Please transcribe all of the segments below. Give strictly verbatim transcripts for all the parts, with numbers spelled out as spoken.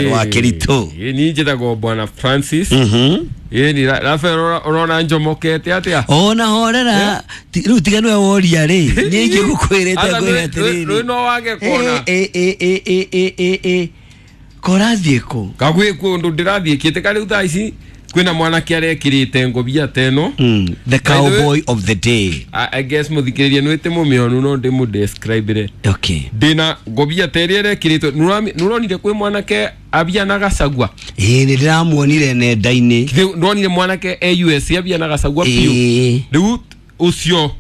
Wa Keritu. Ni njĩtagwo Bwana Francis. Mhm. Ĩ ni Rafael, ũrona njomokete atĩa? Ona horera, rĩu tiga nĩwe woria rĩ, niĩ ingĩgũkwĩrĩte ngwĩre atĩrĩrĩ. Rĩu no wage kuona. Ĩ ĩ ĩ ĩ ĩ ĩ ĩ korathiĩ kũ? Kagwĩ kũndũ ndĩrathiĩ kĩte karĩu thaa ici kwĩna mwanake arekĩrĩte ngobia ta ĩno. Mm, the cowboy of the day. I, I guess mũthikĩrĩria nĩ wĩte mũmĩonu no ndĩmũdescribe-re. Okay. Ndĩna ngobia ta ĩrĩa ĩrekĩrĩtwo, nĩũronire kwĩ mwanake abia na gacagua? Ĩĩ, nĩ ndĩramuonire nenda-inĩ. Nĩwonire mwanake e U S abia na gacagua biũ? Rĩu ũcio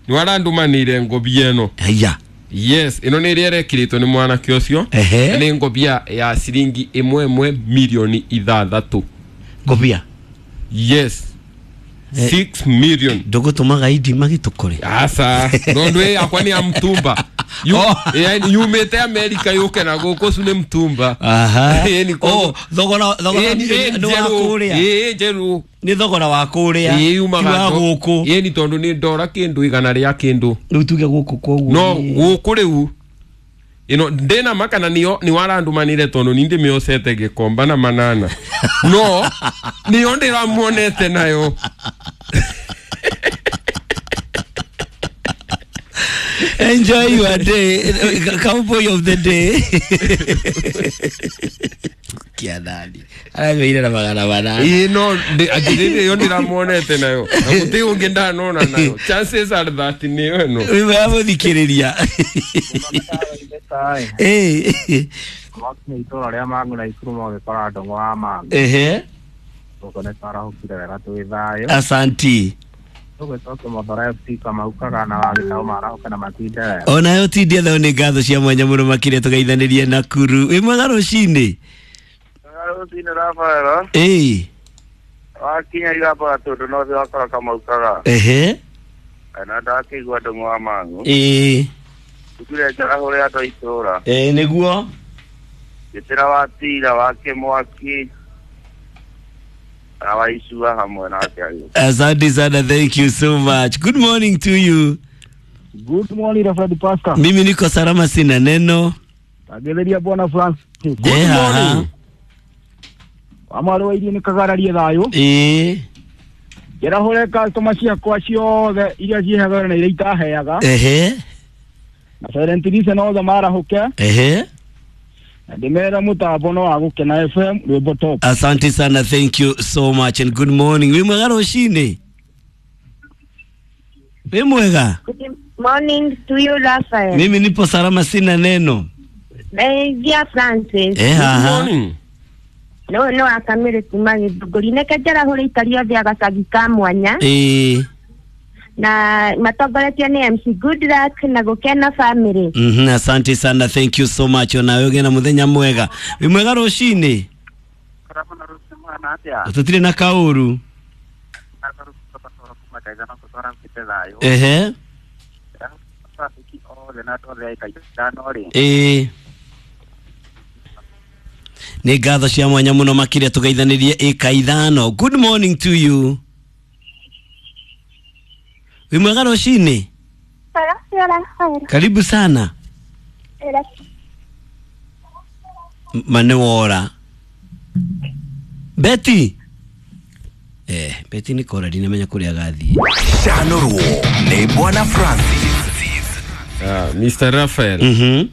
nĩ warandũmanĩire ngobia ĩno. Haya. Yes, ĩno nĩ ĩrĩa ĩrekĩrĩtwo nĩ mwanake ũcio. Nĩ ngobia ya ciringi ĩmwe ĩmwe milioni ithathatũ. Ngobia? Yes. Six million. Ndũgũtũmaga indi magĩtũkore? Aca, tondũ ĩ yakwa nĩ ya mtumba. Yumĩte America yũke na gũkũ ũcio nĩ mtumba. Aha. Oh, thogora thogora nĩ wa kũrĩa. Ĩ njerũ. Nĩ thogora wa kũrĩa. Ĩ yumaga wa gũkũ. Ĩ ni tondũ nĩ ndora kĩndũ igana rĩa kĩndũ. Rĩu tuge gũkũ koguo. No gũkũ rĩu ino ndĩna makana nĩyo nĩ warandũmanĩre tondũ ni ndĩmĩocete gĩkomba na manana. No nĩyo ndĩramuonete nayo. Enjoy your day, cowboy of the day. Kianani. Arameire na magana manana. Ĩ no ndĩ yo ndĩramuonete nayo. Na gũtirĩ ũngĩ ndanona nayo. Chances are that nĩyo ĩno. Wĩ mwega mũthikĩrĩria. Eh. Mwakinya itũra rĩa Mang'u na Ikuru magĩkora ndũng'ũ wa Mang'u. Ehe. Gũkũ nĩ twarahũkire wega twĩ thayũ. Asanti. Tũgĩcokia Mathare F C Kamau Kagana wa Gĩtaũ marahũke na matinde wega. Onayo tindie thayũ nĩ ngatho cia mwanya mũno makĩria tũgeithanĩrie Nakuru. Wĩ mwega rũcinĩ? Mwega rũcinĩ Rafael. Ĩĩ. Wakinya Iramba tondũ no thĩ wakora Kamau Kagana. Ehe. Na ndakĩigua ndũng'ũ wa Mang'u. Ĩĩ. Tukire njarahũre andũ a itũũra. Ĩĩ nĩguo. Gĩtĩra wa tira wa Kĩmwaki na wa Icua hamwe nake agĩũka. Asante sana, thank you so much. Good morning to you. Good morning Reverend Pastor. Mimi niko salama sina neno. Tagetheria Bwana Francis. Good morning. Amaro wa iria nĩ kagararie thayũ. Ĩĩ. Njarahũre customer ciakwa ciothe iria ciheaga na iria itaheaga. Ehe. Na Silent Listen othe marahũke. Ehe. Na ndĩmere mũtambo no wa Gũkena F M rwĩmbo top. Asante sana, thank you so much and good morning. Wĩ mwega rũcinĩ? Wĩ mwega? Good morning to you Raphael. Mimi nipo salama sina neno. Dear Francis. Eh, good morning. No no akamire kuma gĩthũngũri neke njarahũre ikari othe agacagi ka mwanya. Ĩĩ. Na matongoretio nĩ M C Good Luck na Gũkena family. Mhm, asante sana, thank you so much. Ona wewe na muthenya mwega. Wĩ mwega rũcinĩ? Tũtirĩ na kaũru. Ehe. Ĩĩ. Nĩ ngatho cia mwanya mũno makĩria tũgeithanĩrie ĩka ithano. Good morning to you. Wĩ mwega rũcinĩ? Karibu sana. Mane wora. Betty. Eh, Betty nĩ kora ndinamenya kũrĩa agathiĩ. Canũrwo nĩ Bwana Francis. Ah, Mister Raphael. Mhm.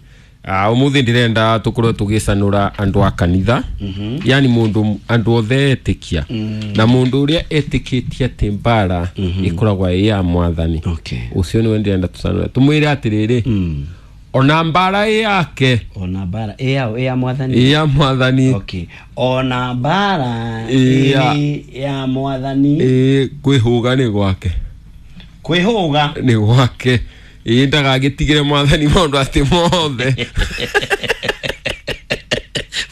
Ah, umuthi ndirenda tukorwo tugicanura andu a kanitha. Mm-hmm. Yani mundu andu othe etikia. Mm. Na mundu uria etikitie ati mbara mm-hmm. ikoragwa ĩ ya mwathani. Okay. Ucio niwe ndirenda tucanure tumwire atiriri. Mm. Ona mbara ĩ yake. Ona mbara ĩ ya ĩ ya mwathani. Ĩ ya mwathani. Okay. Ona mbara ĩ ya mwathani. Ĩ kwĩhũga nĩ gwake. Kwĩhũga nĩ gwake. Ĩ ndagagĩtigĩre mwathani maũndũ atĩ mothe.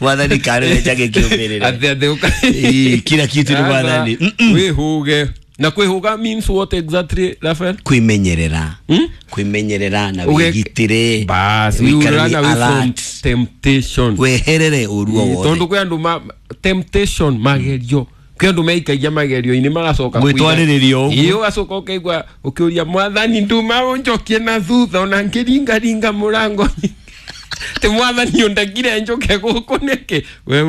Mwathani karĩ njage kĩũmĩrĩre. Atĩ atĩ ũka. Ĩ kila kitu ni mwathani. Kwĩhũge. Na kwĩhũga means what exactly Raphael? Kwĩmenyerera. Hmm? Kwĩmenyerera na wĩgitĩre. Bas, we run away from temptation. Weherere ũru o wothe. Tondũ kwĩ andũ ma temptation magerio. Kwĩ andũ meikagia magerio-inĩ magacoka gwĩtwarĩrĩria ũguo. Ĩ ũgacoka ũkaigua ũkĩũria mwathani nduma ũnjokie na thutha ona ngĩringaringa mũrango. Ti mwathani ũndekire njũke gũkũ nĩkĩ we?